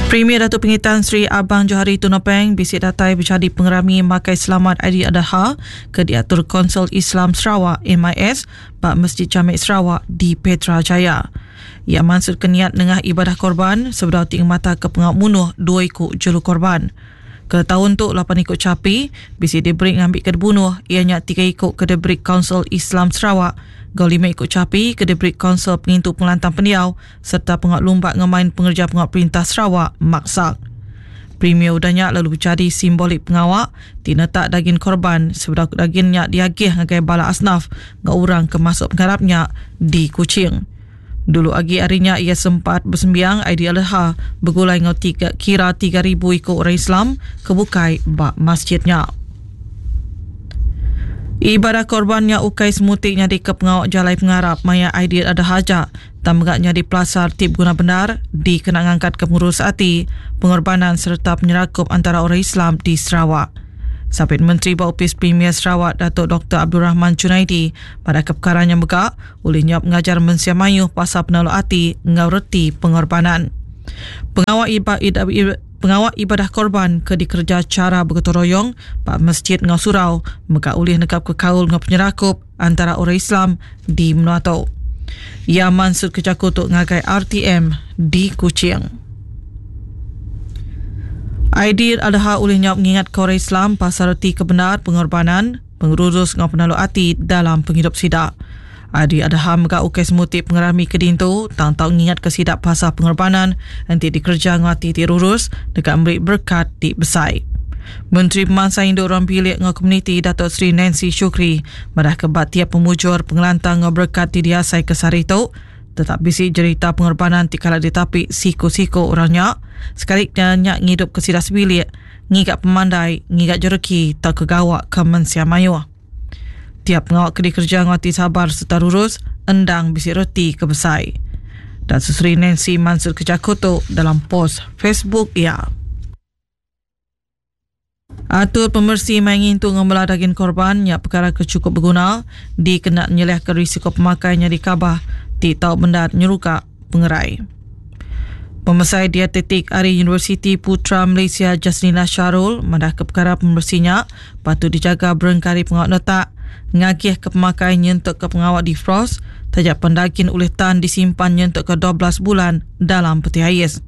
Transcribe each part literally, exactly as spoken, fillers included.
Premier Datuk Pengitan Sri Abang Johari Tun Openg bisi datai berjadi pengerami Makai Selamat Aidil Adha ke diatur Konsul Islam Sarawak M I S ba Masjid Jamek Sarawak di Petra Jaya. Ia maksud keniat nengah ibadah korban sebedau ting mata ke pengawak munuh dua ikut jelu korban. Ke tahun tu lapan ikut capi bisi diberi ngambil ke dibunuh ianya tiga ikut ke diberi Konsul Islam Sarawak, gau lima ikut capi ke diberi Konsul Pengintu Pengelantang Pendiau serta pengawak lumba ngemain pengerja pengawak perintah Sarawak Maksak. Premier udahnya lalu berjadi simbolik pengawak tinetak daging korban sebedau dagingnya diagih ngagai bala asnaf ngau orang ke masuk pengharapnya di Kuching. Dulu agi harinya ia sempat bersembiang Aidil Adha bergulai ngau tiga, kira tiga ribu ikut orang Islam kebukai bak masjidnya. Ibadah korbannya ukai semutiknya di kepengawak jalai pengarap maya Aidil Adha hajak tamgaknya di pelasar tip guna benar di kena ngangkat kepengurus hati pengorbanan serta penyerakup antara orang Islam di Sarawak. Sapit Menteri Baupis Premier Sarawak Datuk Doktor Abdul Rahman Junaidi pada keperkaranya megak oleh nyap mengajar mensia mayuh pasal penaluk hati ngau reti pengorbanan. Pengawak ibadah, pengawak ibadah korban ke dikerja cara bergotong royong pak masjid ngau surau megak oleh negap ke kaul ngau penyerakup antara orang Islam di Menua Tok. Ia mansut kejakutuk ngagai R T M di Kuching. Aidil Adha oleh nyap mengingat ke orang Islam pasal reti kebenar pengorbanan, pengurus ngau penaluk hati dalam penghidup sidak. Aidil Adha megak ukai semutik pengerami kedintu, tang tau ngingat ke sidak pasal pengorbanan nanti dikerja ngau hati tirurus dekat memberi berkat di besai. Menteri Pemansang Induk Orang Bilik ngau Komuniti Datuk Seri Nancy Shukri madah kebat tiap pemujur pengelantang ngau berkat di diasai kesari tu tetap bisi cerita pengorbanan ti kala ditapik siku-siku orangnya sekaliknya nyak ngidup ke sidas bilik ngigak pemandai ngigak jereki tau kegawak ke mensia mayuh. Tiap pengawak ke dikerja ngati sabar serta lurus endang bisi reti ke besai. Dan Susri Nancy Mansur Kejakutuk dalam post Facebook ia. Atur pemersi main itu ngembelah daging korban nyak perkara kecukup berguna dikena nyeleh ke risiko pemakainya di kabah ti tau benda nyeruka pengerai. Pemesai dietetik Ari Universiti Putra Malaysia Jasnina Syarul madah ke perkara pemersinya patut dijaga berengkari pengawak letak ngagih ke pemakai nyentuk ke pengawak defrost tajak pendagin oleh tan disimpan nyentuk ke dua belas bulan dalam peti ais.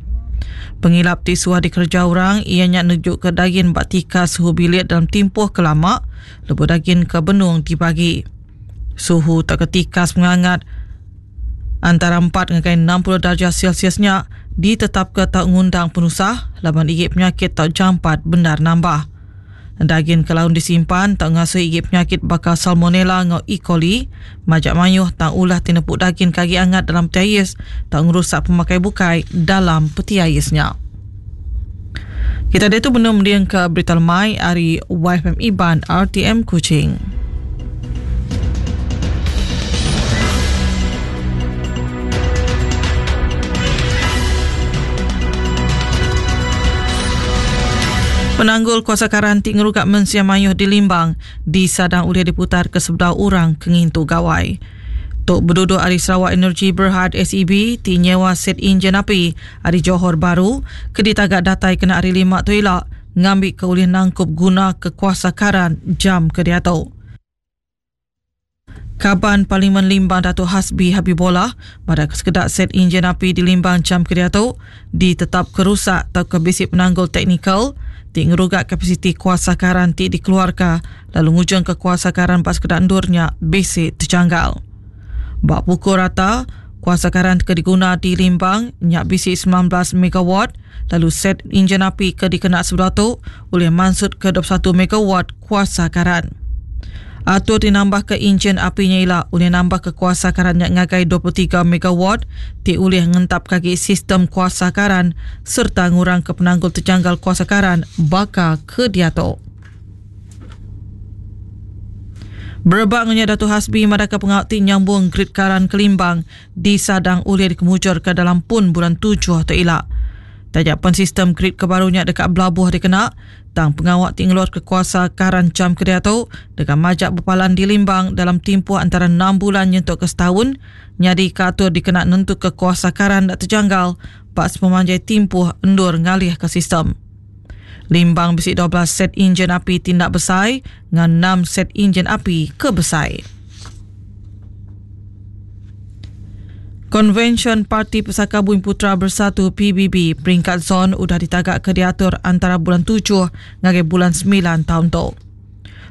Pengilap ti suah dikerja orang ianya nejuk ke daging bak tika suhu bilik dalam tempoh kelama lebuh daging ke benung dibagi. Suhu tak ketikas mengangat antara empat hingga enam puluh darjah Celsiusnya ditetap ke tak ngundang penusah laban igit penyakit tak jampat benar nambah. Daging kelaun disimpan tak ngasuh igit penyakit bakal salmonella ngau E. coli, majak mayuh tak ulah tinepuk daging kaki angat dalam peti ais tak ngerusak pemakai bukai dalam peti aisnya. Kita dia tu benar mendiang ke berita lemai hari Y F M Iban R T M Kuching. Penanggul kuasa karantik ngerugak mensia mayuh di Limbang disadang oleh diputar ke sebelah orang kengintu gawai. Tok berduduk Ari Sarawak Energy Berhad S E B ti nyewa set enjin api Ari Johor Baru ke ditagak datai kena hari lima tu elak ngambil ke oleh nangkup guna ke kuasa karan jam ke diatu. Kaban Parlimen Limbang Datuk Hasbi Habibollah pada kesekedak set enjin api di Limbang jam ke diatu ditetap kerusak atau kebisik penanggul teknikal ti ngerugak kapasiti kuasa karan ti dikeluarkan lalu ngujung ke kuasa karan pas kedak endurnya besi terjanggal. Bak pukul rata, kuasa karan ke diguna di Limbang nyak bisi sembilan belas megawatt lalu set enjin api ke dikena sebelah tu oleh mansut ke dua puluh satu megawatt kuasa karan. Atur dinambah ke enjin apinya ila oleh nambah ke kuasa karan nyak ngagai dua puluh tiga megawatt ti oleh ngentap kaki sistem kuasa karan serta ngurang ke penanggul terjanggal kuasa karan baka ke diatok. Berebak ngunya Datuk Hasbi madaka pengawak ti nyambung grid karan Kelimbang disadang oleh dikemujur ke dalam pun bulan tujuh atau ilak. Tajak pen sistem grid kebarunya dekat belabuh dikena, tang pengawak ti ngeluar ke kuasa karan jam ke diatu dekat majak berpalan di Limbang dalam tempoh antara enam bulan nyentuk ke setahun, nyadi katur dikena nentu ke kuasa karan dak terjanggal ba sepemanjai timpuh endur ngalih ke sistem. Limbang bisi dua belas set enjin api tindak besai dengan enam set enjin api ke besai. Konvensyen Parti Pesaka Bumiputera Bersatu P B B peringkat zon udah ditagak ke diatur antara bulan tujuh ngagai bulan sembilan tahun tu.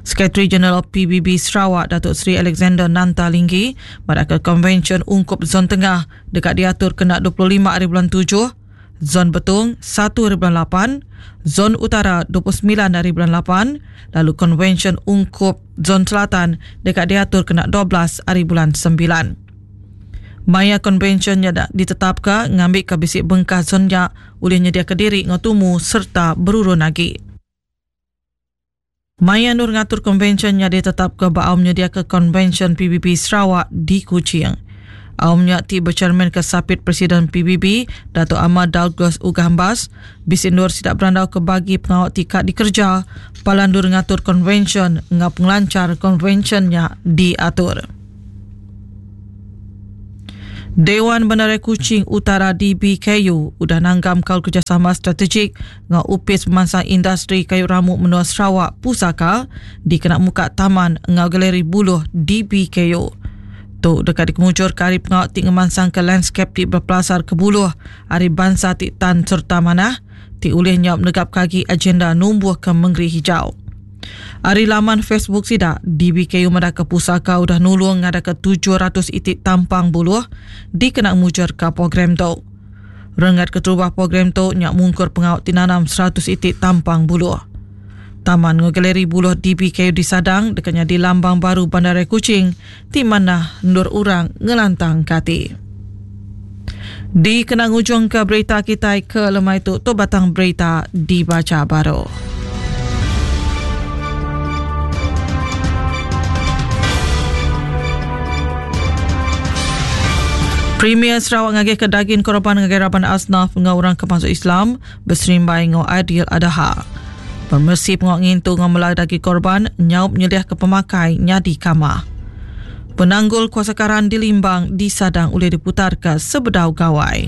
Sekretari Jeneral P B B Sarawak Datuk Seri Alexander Nanta Linggi pada ke konvensyen ungkup zon tengah dekat diatur kena dua puluh lima hari bulan tujuh, zon Betong satu hari bulan lapan, zon utara dua puluh sembilan hari bulan lapan, lalu konvensyen ungkup zon selatan dekat diatur kena dua belas hari bulan sembilan. Maya konvensinya ditetapkan ngambil ke bisik bengkah zonnya oleh nyedia ke diri ngotumu serta berurun lagi. Maya Nur ngatur konvensinya ditetap ke baau menyedia ke konvensyen P B B Sarawak di Kuching. Aumnya ti bercermin ke sapit Presiden P B B Dato' Ahmad Douglas Uggah Embas bisik Nur sidak berandau ke bagi pengawal tikat dikerja palandur ngatur konvensyen ngap pengelancar konvensinya diatur. Dewan Bandaraya Kuching Utara D B K U udah nanggam kau kerjasama strategik ngau upis pemansang industri kayu ramuk menua Sarawak Pusaka di kena muka taman ngau galeri buluh D B K U. Tu dekat dikemuncur ke hari pengawal ti ngemansang ke landscape ti berpelasar ke buluh hari bangsa ti tan serta manah ti ulih nyap negap kaki agenda numbuh ke Mengeri Hijau. Hari laman Facebook sidak D B K U madaka pusaka udah nulung ngada ke tujuh ratus itik tampang buluh dikena mujur ke program tu. Rengat keterubah program tu nyak mungkur pengawal tinanam seratus itik tampang buluh. Taman Galeri Buluh D B K U di Sadang dekatnya di lambang baru Bandaraya Kuching ti mana ndur urang ngelantang kati. Di kena ngujung ke berita kita ke lemai tu tu batang berita dibaca baru. Premier Sarawak ngagih ke daging korban ngagai raban asnaf ngau orang kemasuk Islam berserimbai ngau Adil Adha. Pemersi pengok ngintu ngau melai daging korban nyaup nyeliah ke pemakai nyadi kamah. Penanggul kuasa karan di Limbang disadang oleh diputar ke Sebedau Gawai.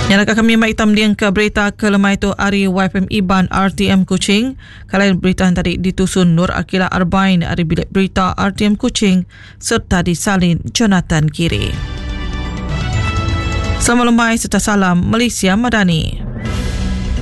Nyalaka kami mai hitam diang ke berita ke lemai tu ari Y F M Iban R T M Kuching. Kalian berita yang tadi ditusun Nur Akila Arbain ari bilik berita R T M Kuching serta disalin Jonathan Kiri. Selamat lemai serta salam Malaysia Madani.